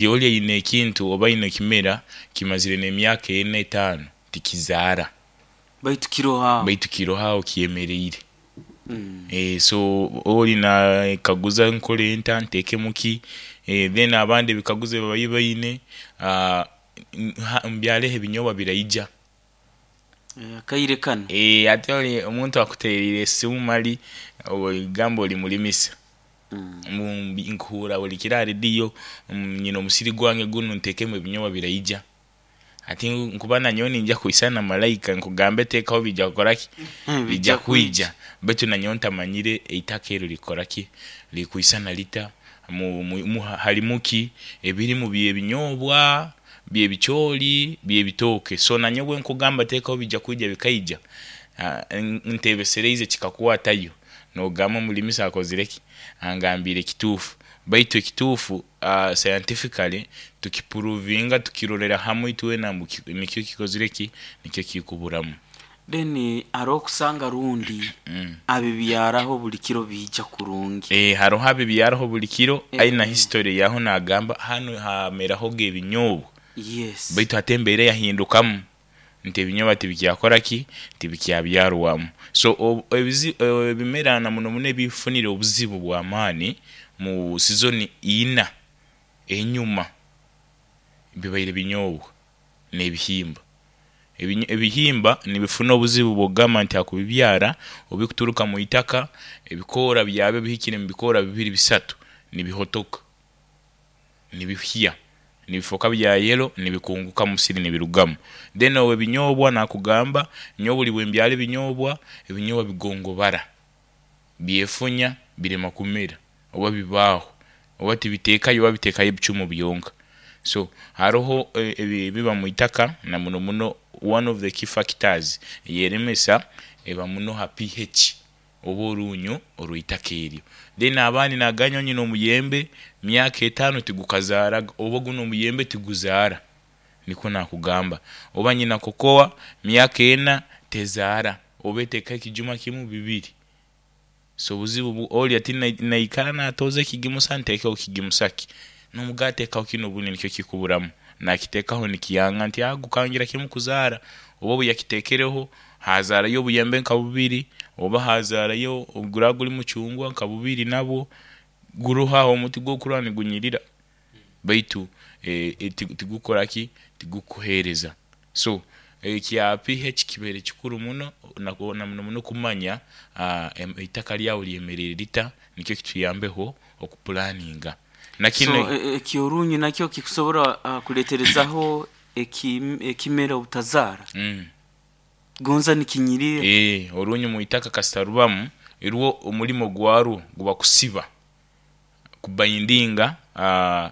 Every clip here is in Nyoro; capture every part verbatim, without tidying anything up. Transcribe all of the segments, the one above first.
Oli aine ekintu oba aine ekimera kimazire n'emyaka ena, etaano tikizaara. Baitu kiroho aho. Baitu kiroho aho kyemeriire. Mm. Eh, so oli nakaguza nkole nta, nteekemu ki, eh, then abandi ebikaguzo ebi babaire baine, ah, ha- mbyareho ebinyoobwa biraija. Eh, akaire kanu. Eh, hati oli omuntu akuteriire esimu mali gamba oli mulimisa, Mm. mbu nkuhuura buli kiro ha rediyo, nyina omusiri gwange gunu nteekemu ebinyoobwa biraija. Hati nkuba nanyowe ninyija kwisana na malaika nkugambe teekaho biija kukoraki, bijja kwija, baitu nanyowe ntamanyire eitaka eryo likukoraki, likwisana lita, mu, mu, mu, harimu ki, ebirimu by'ebinyoobwa, by'ebicooli, by'ebitooke. So nanyowe bwenkugamba teekaho bijja kwija bikaija, ah, ntebesereize kikakwatayo, nogamba omulimisa akozire ki, angambiire kituufu. Baitu ekituufu uh, scientifically tukipuruvinga, tukirolera hamu itwena ngu ki- nikyo kikozire ki, nikyo kikuburamu. Then haroho okusanga rundi Mm. abibyaraho buli kiro biija kurungi. Eh, haroho abibyaraho buli kiro, Eh. aina history yaho nagamba hanu hamerahoga ebinyoobwa, Yes. baitu hati embeera yahindukamu nti ebinyoobwa tibikyakora ki, tibikyabyarwamu. So ob- ebizi- ebimera na muno muno ebifunire obuzibu bw'amaani mu sizoni ina enyuma bibaire binyoobwa n'ebihimba. Ebinyo- Ebihimba nibifuna obuzibu bw'okugamba nti hakubibyara obikuturuka mu itaka, ebikoora byabyo bihikire mu bikoora bibiri bisatu nibihotoka, nibihya, nibifooka bya yellow, nibikunguka mu musiri nibirugamu. Then obu ebinyoobwa nakugamba nyowe buli bwembyara ebinyoobwa, ebinyoobwa bigongobara, byefunya, birema kumera oba bibaaho, oba tibiteekayo oba biteekayo ebicumu byonka. So haroho e- ebi- ebiba mu itaka na muno muno one of the key factors eyeremesa eba muno ha P H oba orunyo orw'itaka eryo. Then abandi naganya nyina omuyembe myaka etaano tigukazaaraga, oba gunu omuyembe tiguzaara, nikwo nakugamba. Oba nyina kokoa myaka ena tezaara, oba eteekaho ekijuma kimu, bibiri. So obuzibu bu oli ati nai- naikara natooza ekigimusa nteekeho kigimusa ki, nomuga ateekaho kinu obundi nikyo kikuburamu, nakiteekaho nikiyanga nti ah, gukangira kimu kuzaara, oba obu yakiteekereho hazaarayo obuyembe nka bubiri, oba hazaarayo guraba guri mucungwa nka bubiri, nabwo guroho aho omuti gwokurora nigunyirira, baitu eh, eh, tigu- tigukora ki, tigukuheereza. So ekya P H kibaire kikuru muno na na muno muno kumanya ah, em- eitaka lyawe lyemeriire lita, nikyo kituyambeho okupulaninga na kinu. So e- ekyorunyu nakyo kikusobora uh, kuleterezaho eki- ekimera obutazaara mm. gonza nikinyirire. Eh, orunyu mu itaka kasita rubamu, irwo omulimo gwarwo guba kusiba, kubayindinga uh,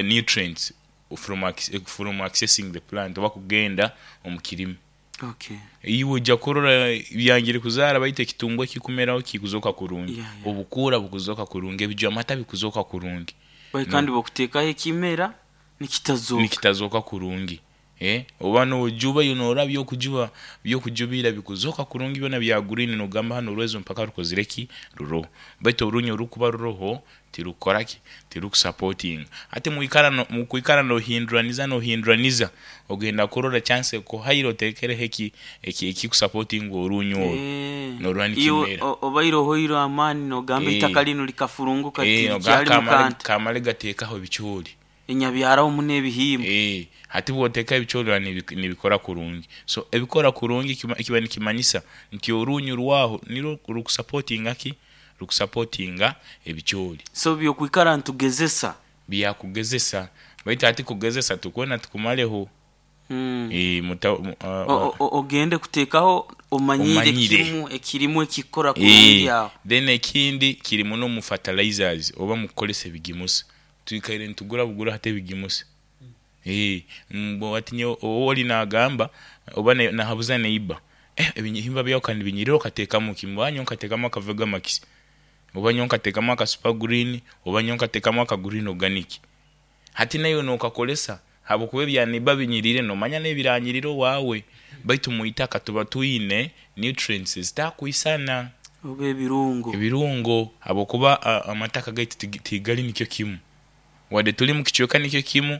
nutrients from, acc- from accessing the plant oba kugenda omu kirimi. Okay iwe ojja kurora byangire kuzaara, baitu ekitungwa ekikumeraho kikuzoka kurungi, Yeah, yeah. obukuura bukuzoka kurungi, ebijwamata bikuzoka kurungi. Bai kandi bokuteekaho ekimera nikitazoka. Nikitazoka kurungi, eh, oba nojuba yo noraba byokujuba byokujubira bikuzoka kurungi byona bya green, nogamba hano orwezo mpaka rukozire ki, ruroho. Baitu orunyo rukuba ruroho tirukora ki, tirukusupportinga. Ati muikara no, mukwikara nohinduraniza nohinduraniza, ogenda kurora chance kuhaire otekereho eki eki ekikusupportinga orunyo orwo, Eh, norora iwe nikimera. o- obaire ohoire amaani nogamba Eh. itaka linu likafurunguka, Eh, tirikyali kamale mukanta kamale gateekaho ebicoori. Enyabyaraho muno ebihimba. Eh, hati bw'oteeka ebicoori nibi- nibikora kurungi. So ebikora kurungi kima- kiba nikimanyisa nti orunyu rwaho nirwo rukusupportinga ki, rukusupportinga ebicoori. So byokwikara ntugezesa. Byakugezesa, baitu hati kugezesa tukwena tukumaleho. Mm. Eh, muta, mu- uh, O- o- ogende kuteekaho omanyire Omanyire. kimu ekirimu ekikora kurungi Eh, aho. Then ekindi kiri muno mu fertilizers oba mu kukolesa ebigimusa. Twikaire nitugura bugura hati ebigimusa. Eh, mbo ati nyo oli nagamba oba ne- nahabuza neighbor, eh, ebihimba byawe kandi binyirira, okateekamu ki? Mbwa nkateekamu aka Vegamax, oba nyo nkateekamu aka Super Green, oba nyo nkateekamu aka Green Organic. Hati nayo nokakolesa habwokuba ebya neighbor binyirire, nomanya n'ebiranyirira owaawe, baitu mu itaka tuba twine nutrients zitakwisana. Oba ebirungo. Ebirungo, habwokuba a- amataka gaitu tigi- tigali nikyo kimu. Wadde tuli mu kicweka nikyo kimu.